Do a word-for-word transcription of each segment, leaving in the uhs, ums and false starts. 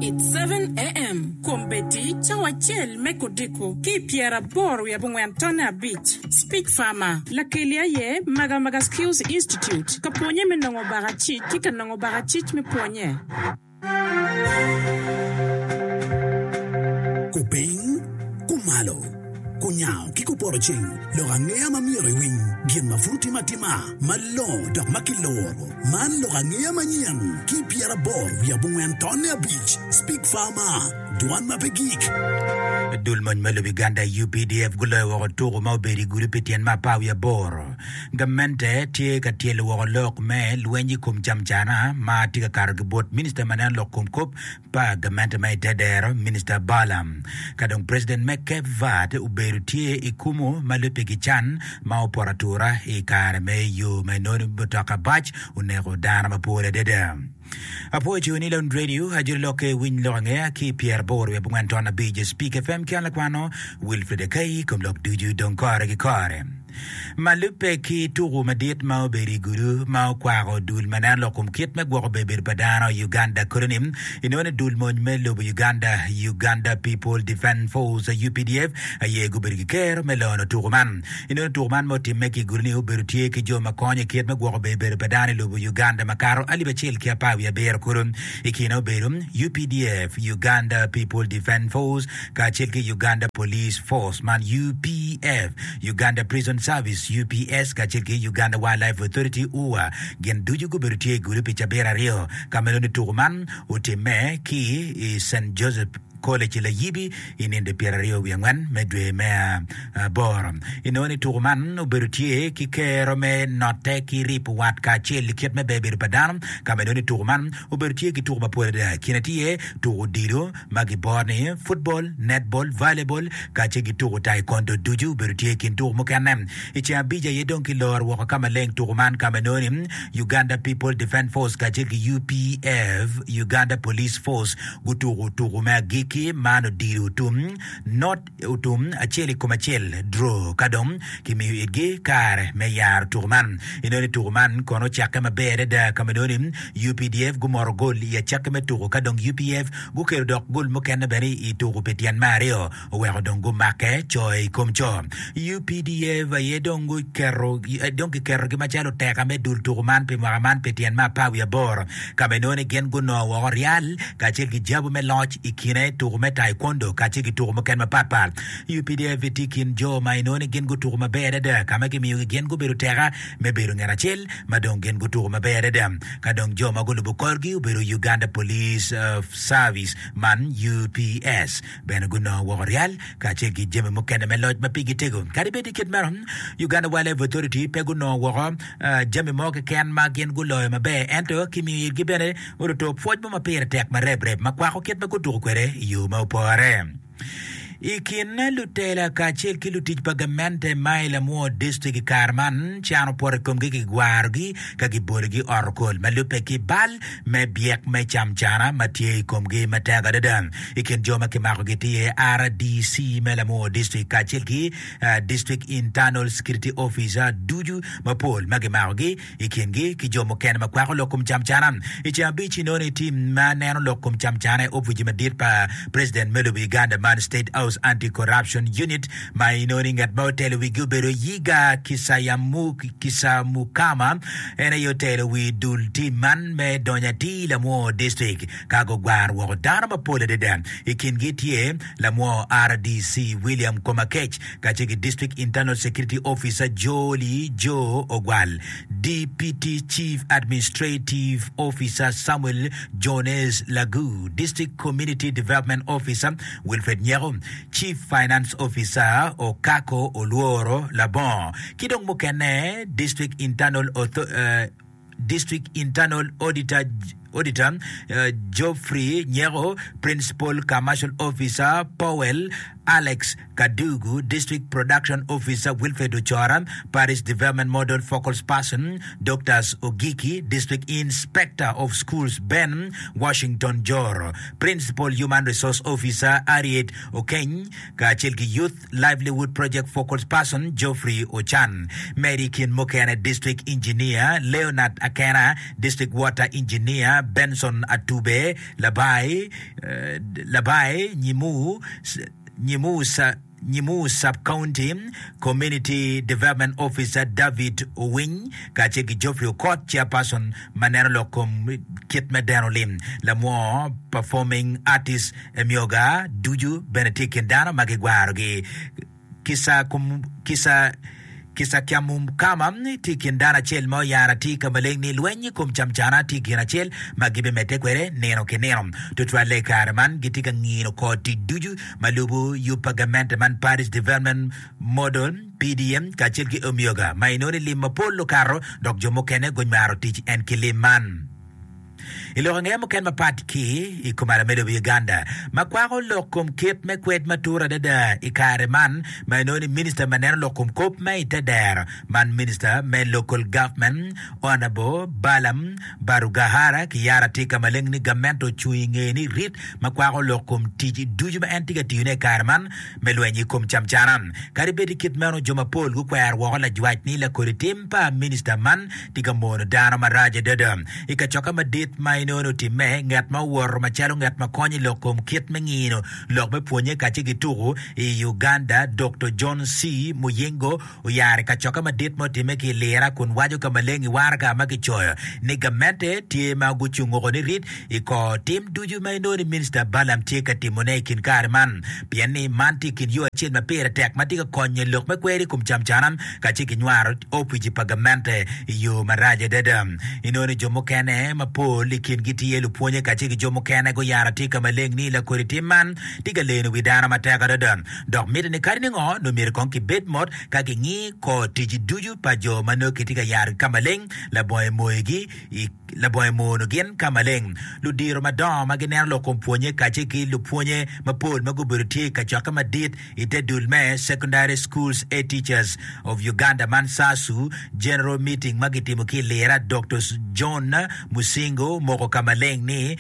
It's seven a.m. Kombeddi cawa acel me kodiko ki pyeraboro wiye abongwen tonne abic. Speak Farmer. Lakeli aye Magamaga Skills Institute. Ka pwonye me nongo bakacic ki ka nongo bakacic me pwonye. Kupiny, kumalo, kunyango ki kupoto ceng, lok angeya ma myero iwiny, gin ma pud timo atima, malongo dok ma kiloro. Man lok angeya manyen ki pyeraboro wiye abongwen tonne abic. Speak Farmer, dwan ma pe gik. Dul mony me lobo Uganda UPDF guloyo woko tuko ma obedo i gudo pi tyen me apar wiye aboro. Gamente tye ka tyelo woko lok me lweny i kom camcana ma tye ka kato ki bot minista ma neno lok kom kop pa gamente ma i te dero Minista Balaam. Ka dong President me Cape Verde obedo tye i kumu ma lubbe ki can ma opoto atura i kare me yo ma inongo mutoka bac oneko dano mapol adada. Apwoyo ciwo ni Lone Radio ajoli lokke winy lok angeya ki pyeraboro wiye abongwen ton abic Speak FM ki an lakwano Wilfred Akai kom lok ducu dong kore ki kore. Ma lubbe ki tuku madit ma obedo i gudo ma okwako dul ma neno lok kom kit me gwoko bebedo pa dano i Uganda kodi ni inongo ni dul mony me lobo Uganda, Uganda People Defence Force UPDF aye gubedo ki kero me lono tuku man. Inongo ni tuku man ma otimme ki i gudo ni obedo tye ki jo ma konyo i kit me gwoko bebedo pa dano i lobo Uganda makato alip acel ki apar wiye abiro kulu. I kine obedo UPDF, Uganda People Defence Force, kacel ki Uganda Police Force man UPF, Uganda Prison Service UPS kacel ki Uganda Wildlife Authority UWA. Gin ducu gubedo tye i gudo pi cabit aryo ka ma nongo tuku man otimme ki i St Joseph College i Layibi i ninde pyeraryo wiye angwen me dwe me aboro. Inongo ni tuku man obedo tye ki kero me notte ki ripo wat kacel i kit me ber bedo pa dano ka ma inongo ni tuku man obedo tye ki tuku mapol adada. I kine tye tuku odilo ma giboro ni football, netball, volleyball kacel ki tuku taekwondo ducu obedo tye i kin tuku mukene. I ceng abic aye dong kiloro woko ka maleng tuku man ka ma inongo ni Uganda People Defence Force kacel ki UPF, Uganda Police Force, gutuko tuku me agikki man odilo otum not otum acel i kom acel draw ka dong kimiyo itgi kare me yaro tuku man. Inongo ni tuku man kono ocakke maber adada ka ma inongo ni UPDF gumoto gol i acakki me tuku ka dong UPF gukelo dok gol mukene bene i tuku pi tyen me aryo oweko dong gumakke co i kom co. UPDF aye dong guketo dong kiketogi macalo oteka me dul tuku man pi mwaka man pi tyen me apar wiye aboro ka ma inongo ni gin gunongo woko ryal kacel ki jabu me loc i kine tuku me taekwondo kacel ki tuku mukene mapatpat. UPDF tye i kin jo ma inongo ni gin gutuku maber adada ka ma kimiyogi gin gubedo teka me bedo nget acel ma dong gin gutuku maber adada. Ka dong jo ma gulubo korgi obedo Uganda Police Service man UPS bene gunongo woko ryal kacel ki jami mukene me loc ma pigi tego. Kadi bed i kit meno, Uganda Wildlife Authority pe gunongo woko jami mo keken ma gin guloyo maber ento kimiyo itgi bene oruto pwoc mo ma pire tek ma rebreb ma kwako kit ma gutuko kwede i yo ma opore. I kin lutela kacel ki lutic pa gamente ma i Lamwo District i kare man, can opoto i komgi kigwarogi ka gibologi ot okol ma lubbe ki bal me byek me camcana ma tye i komgi matek adada. I kin jo ma kimakogi tye iye RDC me Lamwo District kacel ki District Internal Security Officer ducu mapol ma kimakogi i kingi ki jo mukene ma kwako lok kom camcana. I ceng abic inongo ni tim ma neno lok kom camcana i opici madit pa President me lobo Uganda man State House Anti-Corruption Unit ma inongo ni ngat ma otelo wigi obedo Yiga Kisamukama en aye otelo wi dul tim man me donyo atir Lamwo District ka gugwaro woko dano mapol adada. I kingi tye Lamwo RDC William Komakech kacel ki District Internal Security Officer Jolly Joe Ogwal, Deputy Chief Administrative Officer Samuel Jones Lagu, District Community Development Officer Wilfred Nyeko, Chief Finance Officer Okako Olworo Labongo ki dong mukene District Internal District Internal Auditor Auditor Geoffrey Nyeko, Principal Commercial Officer Powell Alex Kadugu, District Production Officer Wilfred Ochora, Parish Development Model Focal Person Doctors Ogiki, District Inspector of Schools Ben Washington Joro, Principal Human Resource Officer Harriet Okeny kacel ki Youth Livelihood Project Focal Person Geoffrey Ochan. Medo i kin mukene District Engineer Leonard Akena, District Water Engineer Commissioner Benson Atube Labai, Labai Nyimu, Nyimu Nyimu Sub-County Community Development Officer David Owiny kacel ki Geoffrey Okot, Chairperson ma neno lok kom kit me deno lim. Lamwo Performing Artist Emyoga ducu bene tye i kin dano ma gigwarogi. Kisakyamukama tye i kin dano acel ma oyaro atir ka maleng ni lweny i kom camcana tye gin acel ma gibimedde kwede nino ki nino. Tutwalle i kare man gitye ka ngino kor tic ducu ma lubo yub pa gamente man Parish Development Model, P D M, kacel ki Omyoga ma inongo ni lim mapol okato dok jo mukene gunywaro tic en ki lim man. I lok angeya mukene mapat ki i kom ala me lobo Uganda ma kwako lok kom kit me kwed matut adada i kare man ma inongo ni Minista ma neno lok kom kop ma ite dero man Minista me Local Government Honourable Balaam Barugahara ki yaro atir ka maleng ni gamente ocung i ngeye ni rit ma kwako lok kom tic ducu ma en tye ka tiyone i kare man me lweny i kom camcana. Kadi bed i kit meno jo mapol gukwero woko lajwac ni lakodi tim pa Minista man tye ka mono dano marac adada. I kacokke madit ma inongo ni otimme, nget ma owoto macalo nget ma konyo i lok kom kit me ngino lok me pwonye kacel ki tuku i Uganda, Doktor John C. Muyingo oyaro i kacokke madit ma otimme ki i Lira kun waco ka maleng i waraga ma kicoyo ni gamente tye ma gucungo ni rit i kor tim ducu ma inongo ni Minista Balaam tye ka timone i kin kare man pien ni man tye i kin yo acel ma pire tek ma tye ka konyo lok me kwer i kom camcana kacel ki nywaro opici pa gamente i yo marac adada. Inongo ni jo mukene mapol i kingi tye lupwonye kacel ki jo mukene guyaro atir ka maleng ni lakodi tim man tye ka leno wi dano matek adada dok mitte ni kadi ningo nongo myero kong kibed mot ka kingi kor tic ducu pa jo ma nongo kitye ka yarogi ka maleng labongo emoyogi i labongo emono gin ka maleng. Ludiro madongo ma gineno lok kom pwonye kacel ki lupwonye mapol ma gubedo tye i kacokke madit i te dul me Secondary Schools A Teachers of Uganda man SASU General Meeting ma kitimo ki i Lira, Doktor John Musingo omoko ka maleng ni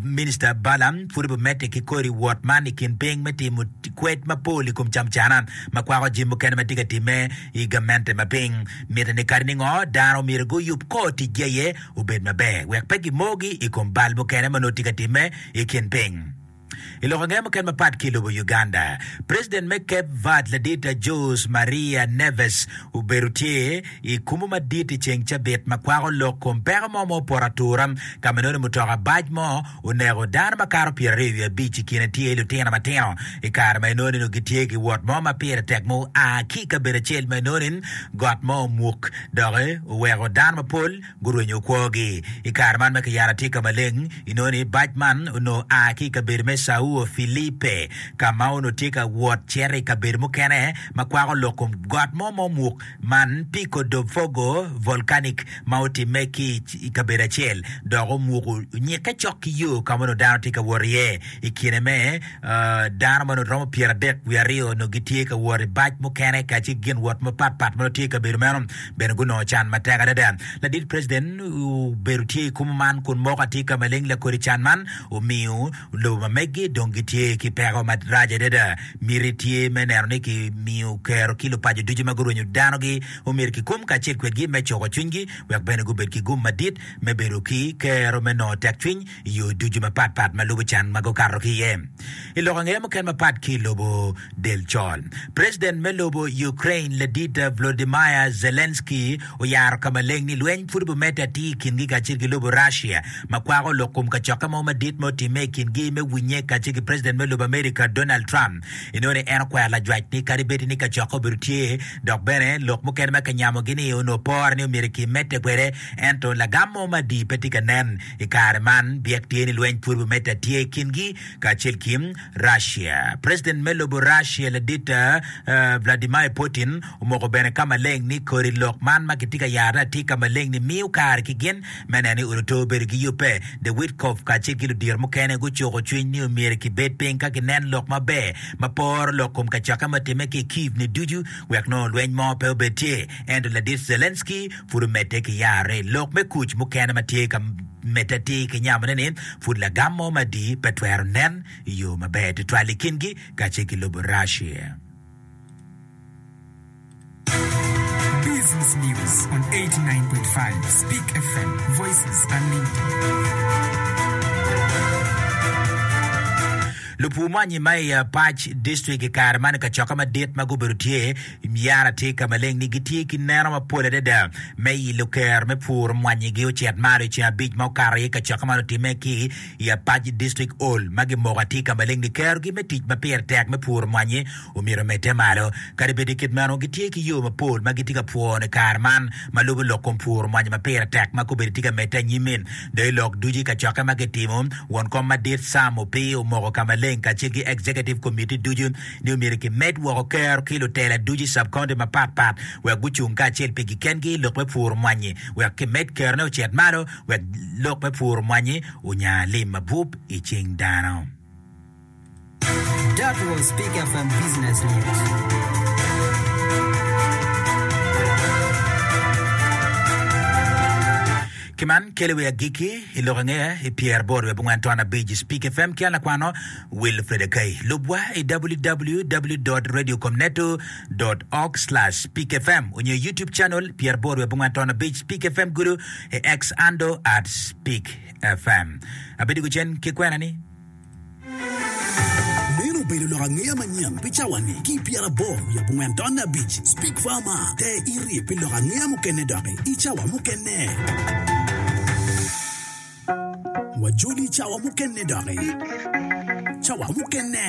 Minista Balaam pud obimedde ki kodi wot man i kin piny me timo kwed mapol i kom camcana ma kwako jami mukene ma tye ka timme i gamente ma piny. Mitte ni kadi ningo dano myero guyub kor ticgi aye obed maber wek pe gimogi i kom bal mukene ma nongo tye ka timme i kin piny. I lok ange mukene mapat ki i lobo Uganda, President me Cape Verde ladit Jose Maria Neves obedo tye i kumu madit i ceng cabit ma kwako lok kom peko mo ma opoto atura ka ma nongo mutoka bac mo oneko dano makato pyeraryo wiye abic i kine tye lutino matino i kare ma inongo ni nongo gitye ki wot mo ma pire tek ma oa ki i kabedo acel ma inongo ni got mo omuk doki oweko dano mapol gurwenyo kwogi. I kare man ma kiyaro atir ka maleng, inongo ni bac man onongo a ki i kabedo me Sao Filipe, ka ma onongo tye ka wot cito i kabedo mukene ma kwako lok kom got mo ma omuk man, Pico do Fogo Volcanic, ma otimme ki i kabedo acel dok omuko onyikke cok ki yo ka ma onongo dano tye ka wot iye. I kine me dano ma onongo romo pyeradek wiye aryo onongo gitye ka wot i bac mukene kacel ki gin wot mapatpat ma onongo tye i kabedo meno bene gunongo can matek adada. Ladit President obedo tye i kumu man kun moko atir ka maleng lakodi can man omiyo lobo ma meggi dong gitye ki peko marac adada. Miti tye me neno ni kimiyo kero ki lupaco ducu ma gurwenyo danogi omyero kikum kacel kwedgi me cuko cwinygi wek bene gubed ki gum madit me bedo ki kero me nongo tekcwiny i yo ducu mapatpat ma lubo can ma gukato ki iye. I lok angeya mukene mapat ki i lobo del col, President me lobo Ukraine ladit Volodymyr Zelensky oyaro ka maleng ni lweny pud obimedde atir i kingi kacel ki lobo Russia ma kwako lok kom kacokke mo madit ma otimme i kingi me winye kacel ki President me lobo America Donald Trump. Inongo ni en okwero lajwac ni kadi bed ni kacokke obedo tye dok bene lok mukene ma kinyamogi-ni onongo pore ni omyero kimedde kwede ento lagam mo ma adi pe tye ka nen. I kare man, byek tye ni lweny pud bimedde atir i kingi kacel ki Russia. President me lobo Russia ladit Vladimir Putin omoko bene ka maleng ni kodi lok man ma kitye ka yarone atir ka maleng ni miyo kare ki gin me neno ni odoto bedo ki yubbe. The Witkoff kacel ki ludito mukene gucuko cwiny ni omyero kibed piny ka kinen lok maber ma poro lok kom kacokke ma otimme ki i Kyiv ni ducu wek nongo lweny mo pe obed tye. Ento ladit Zelensky pud omedde ki yarre i lok me kuc mukene ma tye ka medde atir ki nyamone ni pud lagam mo madii pe twero nen i yo maber tutwal i kingi kacel ki lobo Russia. Business News on eighty-nine point five Speak F M, Voices Unlimited. Lupur mwanyi ma i Apac District i kare man i kacokke madit ma gubedo tye yara tye ka maleng ni gitye ki neno mapol adada me i luker me pur mwanyigi ocit malo i ceng abic ma okato i kacokke man otimme ki i Apac District Hall ma gimoko atir ka maleng ni kerogi me tic ma pire tek me puro mwanyi omyero omedde malo. Kadi bed kit meno, gitye ki yo mapol ma gitye ka pwono i kare man ma lubo lok kom puro mwanyi ma pire tek ma kobedo tye ka medde anyim-mi. Dong i lok ducu i kacokke ma kitimo, won kom madit Sam Opii omoko ka maleng kacel ki Executive Committee ducu ni omyero kimed woko kero ki lutela ducu i sub-county mapat pat wek gucung kacel pigi kengi i lok me puro mwanyi wek kimed kerone ocit malo wek lok me puro mwanyi onya lim mabup i cing dano. That was Speak F M Business News. Ki man kelo wi agikki i lok angeya i pyer aboro wiye abongwen ton abic i Speak F M ki an lakwano Wilfred Akai. Lubwa i w w w dot radiocomneto dot org slash speak F M onyo i YouTube channel pyer aboro wiye abongwen ton abic Speak F M gudo i X handle at Speak F M. Abedo gucen ki kwena ni. Meno obedo lok angeya manyen pi cawa-ni ki pyeraboro wiye abongwen tonne abic. Speak Farmer, Ter iri pi lok angeya mukene doki i cawa mukene. Wajoli i cawa mukene doki. Cawa mukene.